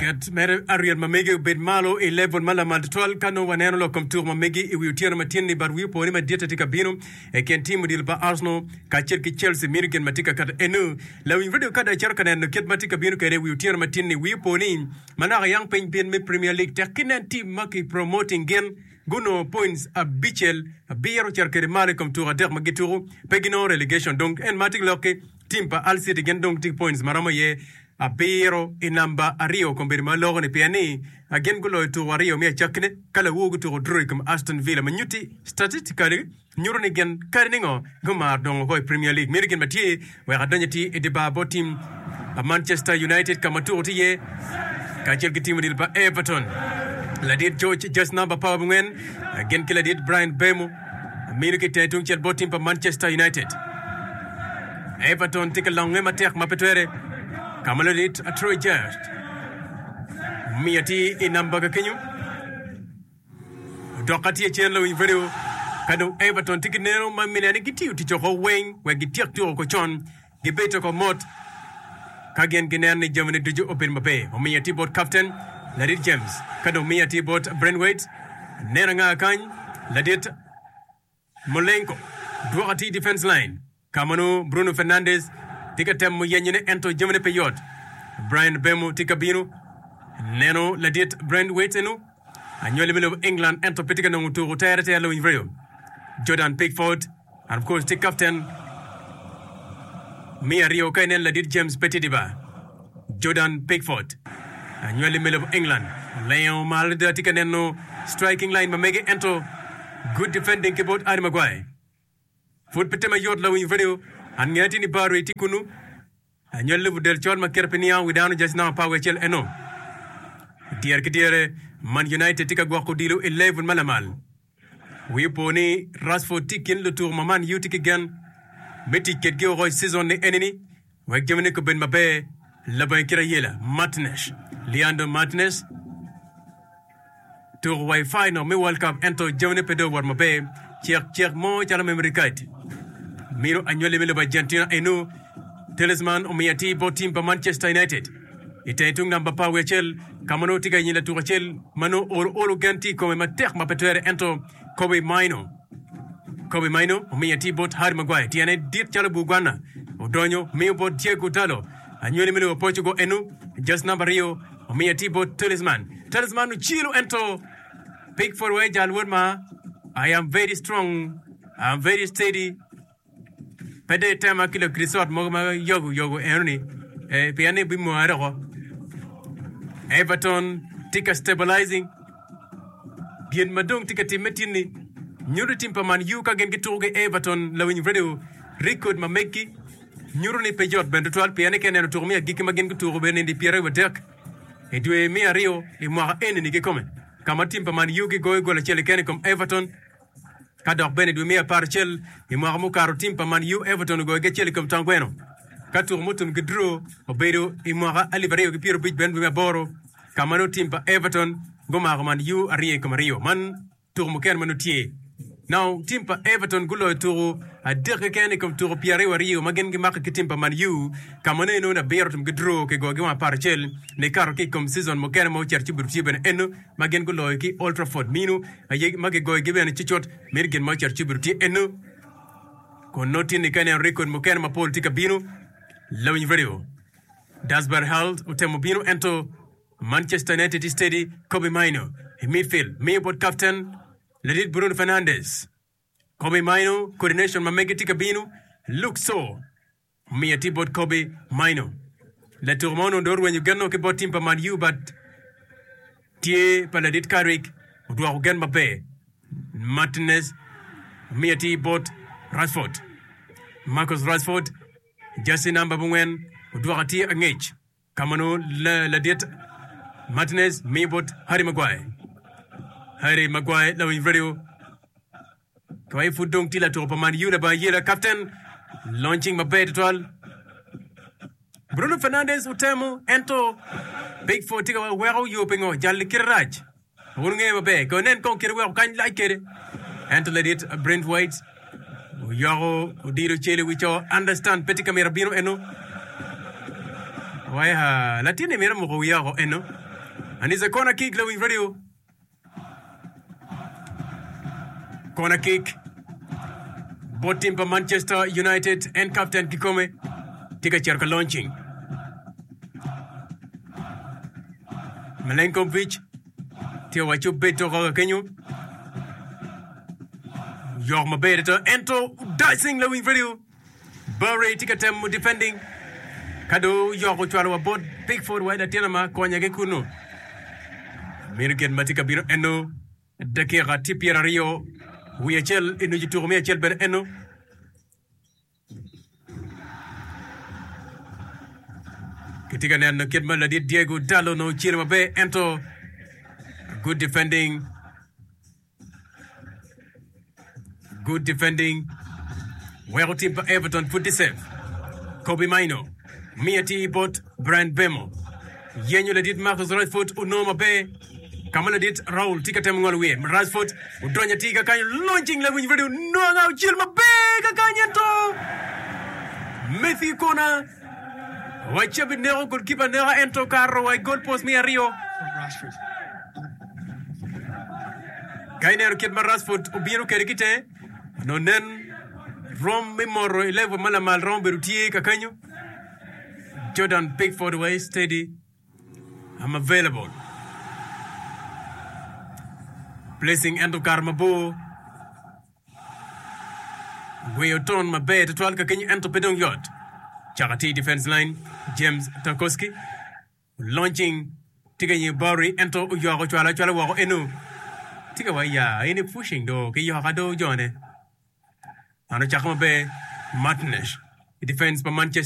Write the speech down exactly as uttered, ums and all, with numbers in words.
Ket mere ariel ma mege obed malo i level ma lamal tutwal ka nongo waneno lok kom tuko ma megi i wi otyeno ma tyen ni but wi opo ni madit tye ka bino i kin tim odilo pa Arsenal kacel ki Chelsea mino gin ma tye ka kato eno. Lawiny radio ka dong icito ka neno kit ma tye ka bino kwede i wi otyeno ma tyen ni wi opo ni manaka yang piny bin me Premier League tek ki nen tim ma ki promoting gin gunongo points abicel abiro cito kwede malo i kom tuko adek ma gituko pe ginongo relegation dong en ma tye ka lok ki tim pa Hull City gin dong tye ki points maromo iye abiro i namba aryo kombedo ma loko ni pien ni gin guloyo tuko aryo me acakkine ka lawor gutuko draw i kom Aston Villa ma nyutti statistically nyuto ni gin kadi ningo gumaro dongo ko i Premier League. Meno gin ma tye wek adonyo ti i dye bar bot tim pa Manchester United ka ma tuko tye iye kacel ki tim odilo pa Everton. Ladit George Just namba apar abongwen gin ki ladit Brian Bemo mino ki tenge tungcel bot tim pa Manchester United. Everton tye ka longe matek ma pe twere ka ma ladit Troy Just omiyo tye i namba ka kenyo. Odok tye cen lawiny radio ka dong Everton tye ki neno ma mine ni gitiyo tic oko weng wek gityek tuko ko con gibed oko mot ka gin gineno ni jamine ducu obedo maber. Omiyo tye bot kapten ladit James ka dong miyo tye bot Braithwaite neno anga kany ladit Molenko dwoko tye i defense line ka ma nongo Bruno Fernandes tye ka temo yenyone ento jamine pe yot. Brian Bemo tye ka bino neno ladit Braithwaite eno anywali me lobo England ento pe tye ka nongo tuko tere tere lawiny radio. Jordan Pickford and of course tye captain me aryo ka inen ladit James pe tye diba. Jordan Pickford anywali me lobo England olengo malo adada tye ka neno striking line ma mege ento good defending ki bot Harry Maguire. Pud pe tye mayot lawiny radio an ngeya tye ni Barry tye kunu anywali lobo del col ma kite pe niango wi dano jaci namba apar wiye acel eno. Dyere ki dyere Man United tye ka gwoko odilo i level ma lamal. Wi opo ni Rashford tye i kin lutuku ma Man U tye ki gen me tic kedgi woko i season ni enini wek jamine kubed maber labongo kit ayela. Martinez Leandro Martinez tuko wa i final me World Cup ento jamine pe dong owot maber cek cek mo calo memory card mino anywali me lobo Argentina eno Talisman omiyo atir bot tim pa Manchester United i tenge tung namba apar wiye acel ka ma nongo tye ka yenyo latuk acel ma nongo olo olo gen tye i kome matek ma pe twere ento Kobbie Mainoo Kobbie Mainoo omiyo atir bot Harry Maguire tyene dit calo bur gwana odonyo miyo bot Diego Dalot anywali me lobo Portugal eno just namba aryo omiyo atir bot Talisman Talisman ocelo ento Pickford wai jal wod ma I am very strong I am very steady pe dong itema ki lakrisot mogo ma yogo yogo enoni eh, pien ni bimware oko. Everton tye ka stabilizing gin ma dong tye ka timme tin-ni nyuto tim pa Man U ka gin gituko ki Everton lawiny radio record ma meggi nyuto ni pe yot bene tutwal pien ni ka ineno tuko me agikki ma gin gutuko obedo nindi pyeraryo wadek i dwe me aryo i mwaka eni-ni kikome ka ma tim pa Man U gigoyo gol acel keken i kom Everton. Ka dok bene i dwe me apar acel i mwaka mukato, tim pa Man U Everton ogoyogi acel i kom tong gweno. Ka tuko mutum ki draw obedo i mwaka alip aryo ki pyera abic bene dwe me aboro, ka ma nongo tim pa Everton gumako Man U aryo i kom aryo. Man tuko mukene ma nongo tye. Now, tim pa Everton guloyo tuko adek keken i kom tuko pyeraryo aryo ma gin gimako ki tim pa Man U, ka ma nongo inongo ni abiro otum ki draw kigoyogi wang apar acel nikato ki i kom season mukene ma ocito ci obedo tye bene eno. Ma gin guloyo ki Old Trafford minu aye ma gigoyogi bene cucut mito gin ma ocito ci obedo tye eno kun nongo tye ni ka ineno rekod mukene mapol tye ka bino lawiny radio Dasbar Hald otemo bino ento Manchester United tye steady Kobbie Mainoo i midfield miyo bot captain ladit Bruno Fernandes Kobbie Mainoo coordination ma mege tye ka bino Luke Shaw Omiyo tye bot Kobbie Mainoo, latuko ma onongo dong orwenyo genno ki bot tim pa Man U but tye pa ladit Carrick odwoko gen maber. Martinez omiyo tye bot Rashford. Marcus Rashford, jersey namba abongwen, odwoko tye angec ka ma nongo ladit Martinez miyo bot Harry Maguire. Harry Maguire lawiny radio. Ka pud dong tye latuko pa Man U labongo ayela kapten launching maber tutwal. Bruno Fernandes otemo ento Pickford tye ka weko yo pingo jal kite rac. Wun wungeyo maber ko nen kong kite weko kany lac kede. Ento ladit Braithwaite oyoko odilo cel i wi co understand pe tye ka mito bino eno. Wai ha latinni mito muko wiye oko eno. And it's a corner kick, Lewin Radio. Corner kick. Bot team pa Manchester United and captain kikome tye ka cito ka launching. Milenkovic tye owaco bed toko ka kenyo. Yok maber ito ento dicing Lewin Radio. Bury tye ka temo defending. Ka do yok ocwalo wa bot Pickford wa latin ma konya ki kunu. Mino gin ma tye ka bino eno dakika tye pyera aryo wiye acel inucu tuko me acel bene eno. Kitye ka neno kit ma ladit Diego Dalot onongo ocelo maber ento good defending good defending weko tim pa Everton pud tye safe. Kobbie Mainoo miyo atir bot Bryan Mbeumo yenyo ladit Marcus Rashford onongo maber ka ma ladit Raul tye ka temo ngolo wiye Rashford odonyo atir kakanyo launching lawiny radio nongo aucel maber kakany ento Matthew Kona wacabi neko goalkeeper neko ento karo wa i goal post me aryo From Rashford. ka ineno kit ma Rashford obino kwede ki tenge onongo nen rom me moto i level ma lamal romo bedo tye kakanyo Jordan Pickford wa steady I'm available placing ento kare mabor gweyo ton maber tutwal kakenyo ento pe dong yot cako atir defense line James Tarkowski launching tye ka nyiyo Bury ento oyoko ocwalo acwala woko eno tye ka wa ya en pushing do ki yoka do jone man ocako maber Martinez i defense pa Manchester